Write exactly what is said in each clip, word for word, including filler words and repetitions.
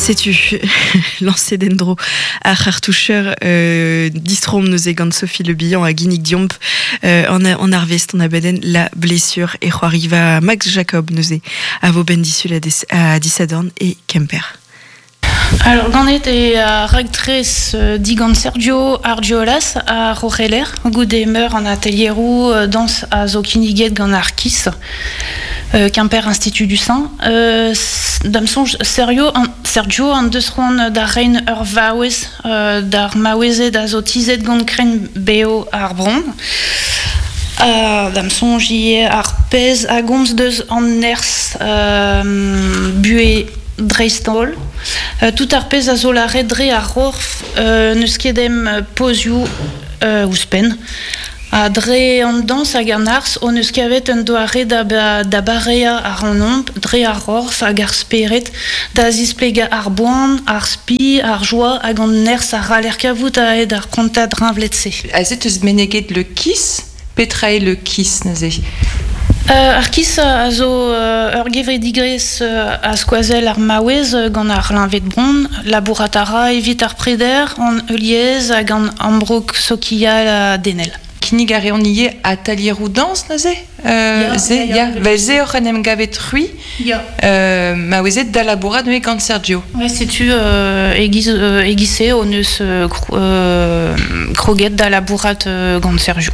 Setu lancé dendro ar c'hartoucher euh, distrom neuze gant Sophie Le Bihan a ginnig diomp euh, an, an arvest an abadenn La Blessure e c'hoariva Max Jacob neuze a vo ben disul a, des, a disadorn e Kemper. Alors, ganet e a ragtrez euh, digant Sergio Argiolas a Rocheler, goude meur an atelierou euh, dans a zo kinniget gant ar Kis, euh, Quimper Institut du Sein. Euh, dam sonj Sergio an, Sergio an deus c'hoant da rein ur vaouez euh, d'ar maouezed a zo tizet gant kren beo ar bron. Uh, dam sonj ie ar pez a gomz deus an nerz euh, bue dreist-holl. Uh, tout ar pez a zo lâret dre ar c'horf euh, n'eus ket em pozioù euh, ouzhpenn. Ha dre an dañs hag an arz hon eus kavet un doare da, ba, da bareañ ar an dre ar c'horf hag ar spered da zisplegañ ar boan, ar spi, ar joa hag an nerzh a c'haller kavout a-hed ar prantad riñvled-se. Aze teus meneget le Kis, petra eo le Kis neuze? Euh, ar Kis a zo euh, ur gevredigezh euh, a skoazell ar maouez gant ar leñved bron, labourat a ra evit ar preder, an heuliezh hag an ambroug sokial ha denel. Kinnig a reont ivez atelieroù dañs neuze? Euh, Ya, ze, ya, ya, ya. Vel se oc'h en em gavet c'hwi, Ya. euh, maouezed da labourat neuze gant Sergio. Ouais, setu euh, egiz, euh, egiz-se hon eus euh, kro, euh, kroget da labourat euh, gant Sergio.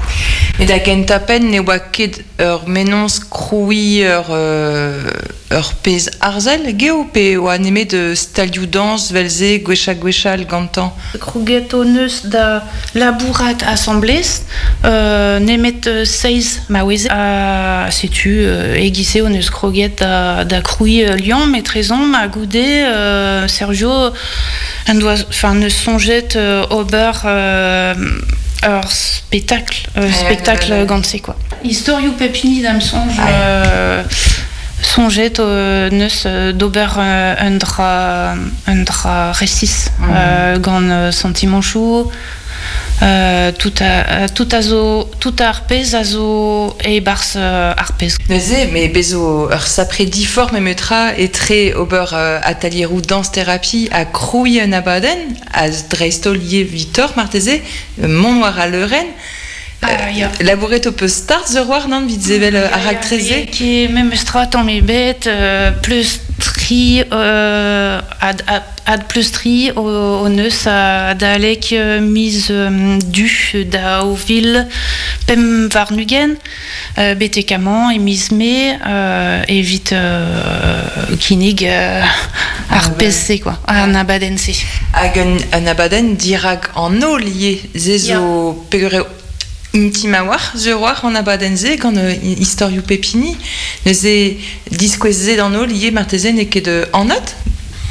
Et da gentañ penn ne oa ket ur mennozh krouiñ ur, euh, ur pezh arzel geo pe oa nemet de stalioù dañs vel-se gwechall gwechall gantañ. Kroget hon eus da labourat asamblez, euh, nemet euh, seizh maouez. Ha setu euh, egiz-se hon eus kroget da, da krouiñ euh, liamm etrezomp ha goude euh, Sergio en doa, enfin, neus soñjet euh, ober euh, ur spectacle, euh, Ouais, spectacle ouais, ouais. gant se quoi. Istorioù pep hini da'm soñj Ah, euh, soñjet euh, neus euh, d'ober euh, un dra un dra resis Mm. euh, gant euh, sentimanchoù euh, tout a tout a zo tout ar pezh a zo e-barzh euh, ar pezh. Neuze, me bezo ur sapre diforc'h memetra etre ober euh, atelieroù dañs thérapie ha krouiñ un abadenn, ha dreist-holl ivez Victor marteze, mont war al leurenn. Ah, ya. Labouret ho peus start sur war, nann, 'vit sevel euh, ar raktres-se? Ki memes tra tamm ebet euh, pleustriñ euh, ad, ad, ad pleustriñ o, hon eus adalek euh, miz euh, du daou vil pemp warn-ugent euh, betek amañ e miz mae euh, evit euh, kinnig euh, ar Ah, ouais. pezh-se quoi, an abadenn-se. Hag un, un abadenn dirak an holl ivez, se zo peogwir eo intim a-walc'h, sur war an abadenn-se gant euh, istorioù pep hini. Neuze diskouez-se d'an holl ivez marteze n'eo ket euh, anat?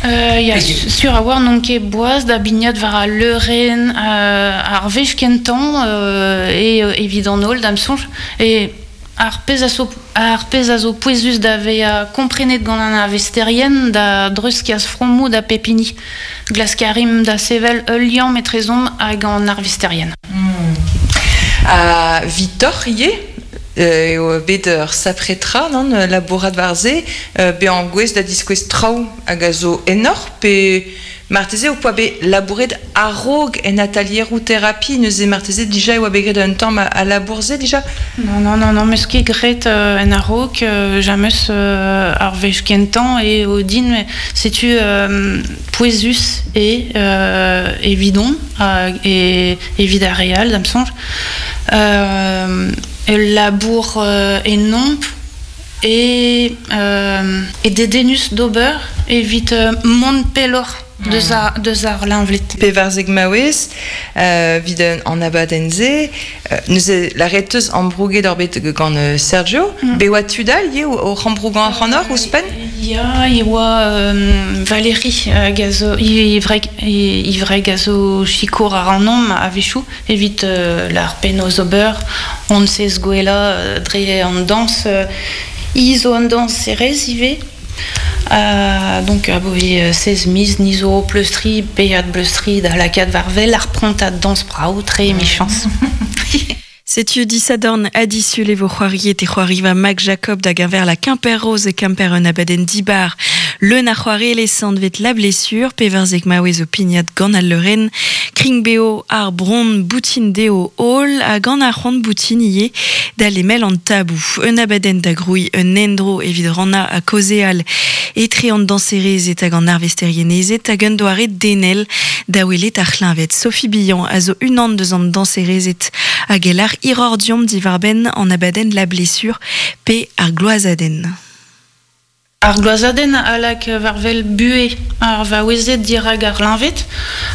Euh, ya, Hag- sur a war n'on ket boaz da bignat war al leurenn euh, ar wech kentañ euh, e euh, evit an holl da'm soñj. E ar pezh a zo, ar pezh a zo pouezus da vezañ komprenet gant an arvesterien da dreuzkas fromoù da pep hini. Glask a rimp da sevel ul liamm etrezomp hag an arvesterien. Ha Victor ivez, euh, eo bet ur sapre tra, nann, labourat war se, euh, bezañ gouest da diskouez traoù hag a zo ennoc'h, pe marteze ho poa bet labouret a-raok en atelieroù thérapie, neuze marteze dija e oa bet graet un tamm a, a labour-se dija? Non, non, non, non, meus ket graet euh, en a-raok, euh, james euh, ar wech kentañ eo din, met setu euh, pouezus e euh, evidon hag e evit ar re all da'm soñj. Euh, ul labour euh, ennomp e, euh, e dedennus d'ober evit euh, mont pelloc'h deus ar, deus ar leñvled. Pevarzek maouez, euh, 'vit an abadenn-se, euh, neuze lâret 'teus ambrouget oc'h bet gant euh, Sergio, Mm. bet oa tud all ivez o, o ambrougañ ac'hanoc'h ouzhpenn? Ya, e oa euh, Valérie hag a zo, e wreg, e wreg a zo sikour ac'hanomp a-wechoù evit euh, lar penaos ober, hon sez gwellañ euh, dre an dañs, euh, hi zo an dañserez ivez. Euh, donc aboe euh, seize miz ni zo pleustriñ, peiat pleustriñ da lakaat war wel ar prantad dañs brav tre emichañs. Setu disadorn adisul e vo c'hoariet e c'hoariva Mac Jacob da geñver la Quimper Rose e Quimper un abadenn dibar. Leun a c'hoarelez anvet La Blessure, pevarzek maouez o pignat gant al leurenn, kring beo ar bron boutin deo holl ha gant ar c'hoant boutin ivez da lemel an tabou. Un abadenn da grouiñ un endro evit rannañ ha kaozeal etre an dañserezed hag an arvesterienezed hag un doare denel da welet ar c'hleñved. Sophie Billan a zo unan deus an dañserezed hag e lar hiroc'h deomp diwar-benn an abadenn La Blessure pe ar gloazadenn. Ar gloazadenn a lak war-wel buhez ar vaouezed dirak ar c'hleñved,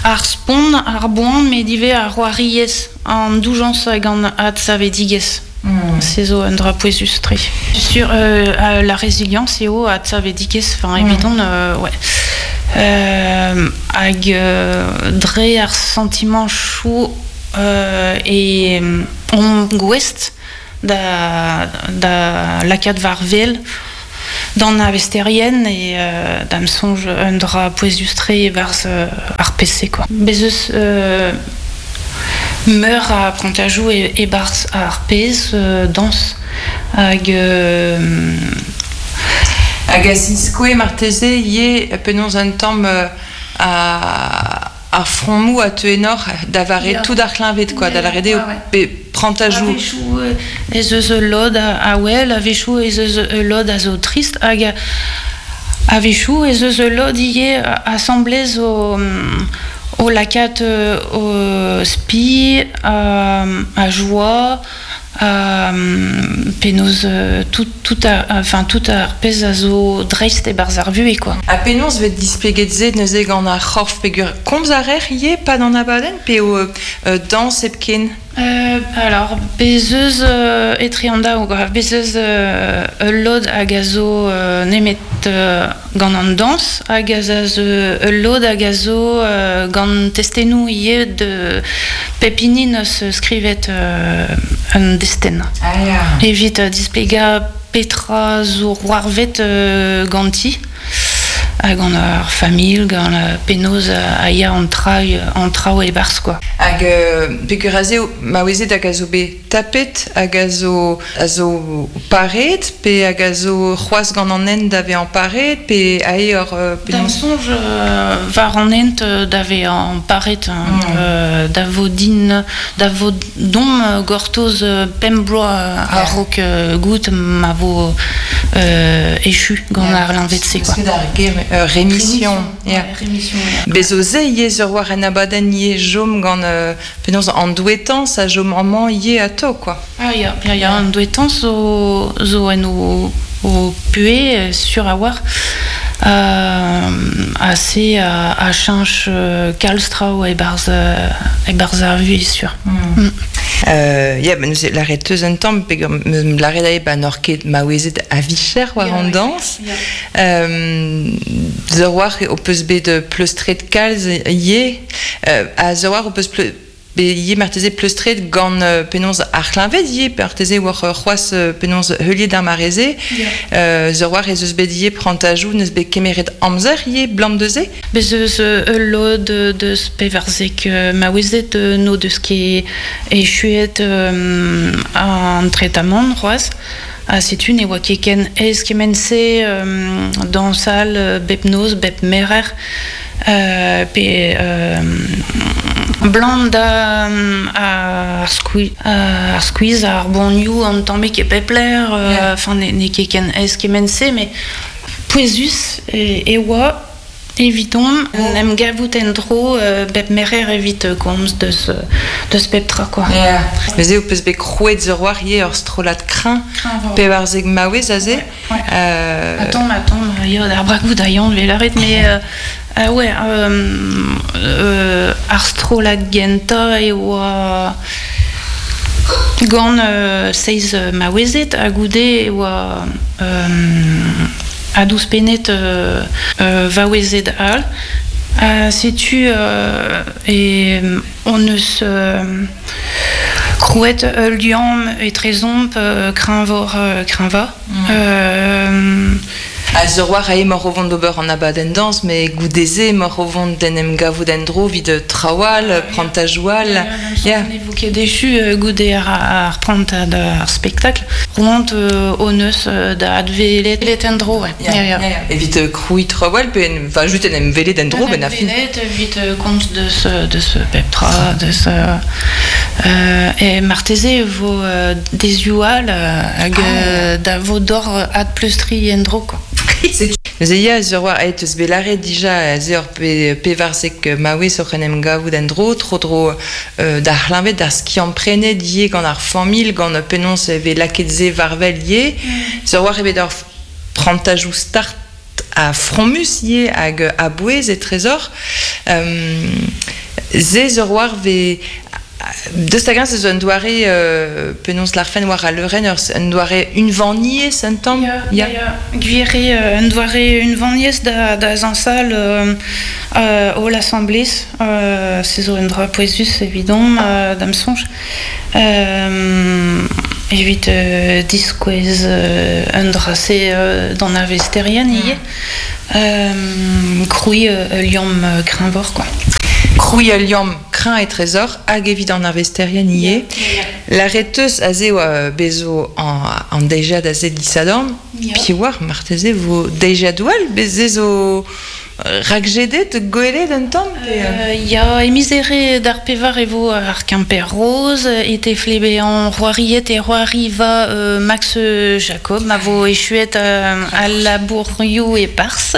ar spont, ar boan, met ivez ar c'hoariezh, an doujañs hag an adsavedigezh. Mm. Se zo un dra pouezus-tre. Sur euh, la résilience eo adsavedigezh, enfin, Mm. evidon, euh, ouais. Euh, hag euh, dre ar sentiment chou euh, e on gouest da, da lakaat war-wel d'an arvesterien e euh, da'm soñj un dra pouezus-tre e-barzh euh, ar P C quoi. Bez eus euh, meur a prantajoù e, e-barzh ar pezh euh, dañs hag euh, Hag a ziskoe marteze ivez penaos un tamm euh, a ar fromoù a teu enor da vare Ya. tout ar c'hleñved quoi, da Ya, lâret eo ouais, ouais. pe prantajoù. A-wechoù euh, ez eus ul lod a, a wel, a-wechoù ez eus ul lod a zo trist hag a, a-wechoù ez eus ul lod ivez asamblez o, o lakaat euh, o spi, a, a joa, a, penaos euh, tout, tout a, enfin, tout ar pezh a zo dreist e-barzh ar vuhez quoi. Ha penaos 'vez displeget se neuze gant ar c'horf peogwir komz a reer ivez pad an abadenn pe o euh, dañs hepken? Euh, alors, bez eus euh, etre an daou, quoi. Bez eus euh, ul lod hag a zo euh, nemet euh, gant an dañs, hag a zo ul lod hag a zo euh, gant testennoù ivez de pep hini neus skrivet euh, un destenn. Ah ya. Evit euh, displegañ petra zo c'hoarvet euh, ganti, hag gant ar familh, gant euh, penaos a ya an traoù, an traoù e-barzh quoi. Hag euh, peogwir aze eo maouezed hag a zo bet tapet, hag a zo, a zo pareet, pe hag a zo c'hoazh gant an hent da vezañ pareet, pe ae ur, euh, Da'm penaos soñj euh, war an hent euh, da vezañ pareet, hein, Mm. euh, da vo din, da vo dom euh, gortoz euh, pemp bloaz Yeah. a-raok euh, goût ma vo euh, echu gant Yeah. ar c'hleñved-se quoi. Parce que d'ar ger euh, rémission. Yeah. Ouais, rémission, yeah. Bez zo se ivez ur war en abadenn ivez jom gant euh, penaos an douetañs a jom amañ ivez atao quoi. Ah ya, ya, ya, an douetañs zo, zo en o, o pué euh, sur a war euh, assez a, a cheñch euh, kalz traoù e-barzh, euh, e-barzh ar vuhez sur. Mm. Mm. Euh, ya, ben, neuze lâret teus un tamm, peogwir m-, lâret ae ba n'oc'h ket maouezed a vicher war Ya, an ouais. dañs. Ya. Euh, zo war o peus bet pleustret kalz ivez, euh, a zo war o peus pleu-, bet ivez marteze pleustret gant euh, penaos ar c'hleñved ivez, marteze war euh, c'hoazh euh, penaos heuliet ar mare-se. Ya. Euh, zo war ez eus bet ivez prantajoù neus bet kemeret amzer ivez blam deus-se. Bez eus euh, ul lod deus pevarzek euh, maouezed euh, n'o deus ket echuet euh, an tretamant c'hoazh. Ha setu ne oa ket ken aes kement-se euh, dañsal euh, bep noz, bep merer, euh, pe euh, blam da euh, ar skwi-, ar skuizh, ar boanioù an tammig e pep lec'h, euh, Yeah. enfin, ne, n'eo ket ken aes kement-se, met pouezus e, e oa evidon en em gavout en-dro euh, bep merer evit euh, komz deus, euh, deus pep tra quoi. Yeah. Neuze ho peus bet krouet zo war ivez ur strollad kreñv, Kreñv, pevarzek maouez aze. Ouais, ouais. Euh, Attends, attends, ya, ar bragoù da Yann 'vel lâret, mais euh, euh, ouais, euh, euh, ar strollad gentañ e oa gant euh, seizh maouezed ha goude e oa euh, a douzpenet euh, euh, vaouezed all. Ha setu euh, e on eus euh, krouet ul liamm etrezomp euh, kreñvoc'h, euh, kreñvañ. Mm. Euh, A ur war ae mor o vont d'ober an abadenn dañs, met goude-se mor o vont d'en em gavout en dro vid trawal, prantajoual. Ya. Ne vo ket dechu goude ar, ar prantad ar spektakl. Roant euh, o neus da advelet let en dro, ouais. Ya, ya, ya. Evit kroui trawal, pe en, enfin, just en em velet en dro, ben a fin. Velet, evit komz deus, deus pep tra, deus... Euh, e marteze vo euh, dezioù-all hag ah. da vo dor ad pleustri en dro, quoi. Neuze ya, ur war aet eus belare dija ze ur pe, pevarzek maouez oc'h en em gavout en dro, tro dro euh, d'ar c'hleñved d'ar skiant-prenet ivez gant ar familh, gant penaos e vez lakaet se war-wel ivez. Mm. Ur war eo bet ur prantajoù start a fromus ivez hag a bouez e trezor. Euh, ze ur war vez Deus hag ez eus un doare euh, penaos l'arfen war a leurenn ur un doare unvaniez un tamm. Ya, ya. ya. Gwir eo un doare unvaniez da, da zañsal euh, euh, holl asamblez. Euh, se zo un dra pouezus evidon euh, da'm soñj. Euh, evit euh, diskouez euh, un dra-se euh, d'an arvesterien ivez. Euh, krouiñ euh, liamm euh, kreñvoc'h, quoi. Krouiñ ul liamm kreñv e trezor hag evit an arvesterien ivez. La reteus aze oa bezo an, an deiziad aze disadorn, yeah. Piv oar marteze vo deiziadoù all, bez ez zo rakjedet gwelet un tamm pe... Euh, ya, e miz Here d'ar pevar e vo ar Quimper Rose, e tefle an c'hoariet e c'hoariva euh, Max Jacob, ma vo echuet euh, al labourioù e Pars,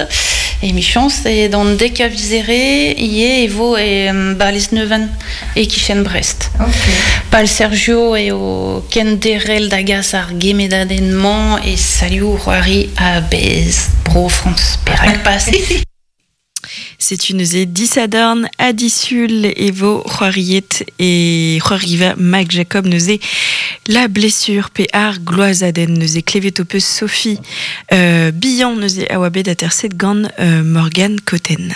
e michañs, e d'an dek a viz Here ivez e vo e ba Lesneven e kichen Brest. Okay. Pal Sergio eo kenderc'hel da gas ar gemedadenn-mañ e salioù c'hoari a-bezh Bro Frañs. Perak pas? Setu neuze disadorn ha disul e vo c'hoariet e c'hoariva Max Jacob neuze La blessure pe ar gloazadenn neuze klevet ho peus Sophie euh, Bihan neuze a oa bet aterset gant euh, Morgane Cotten.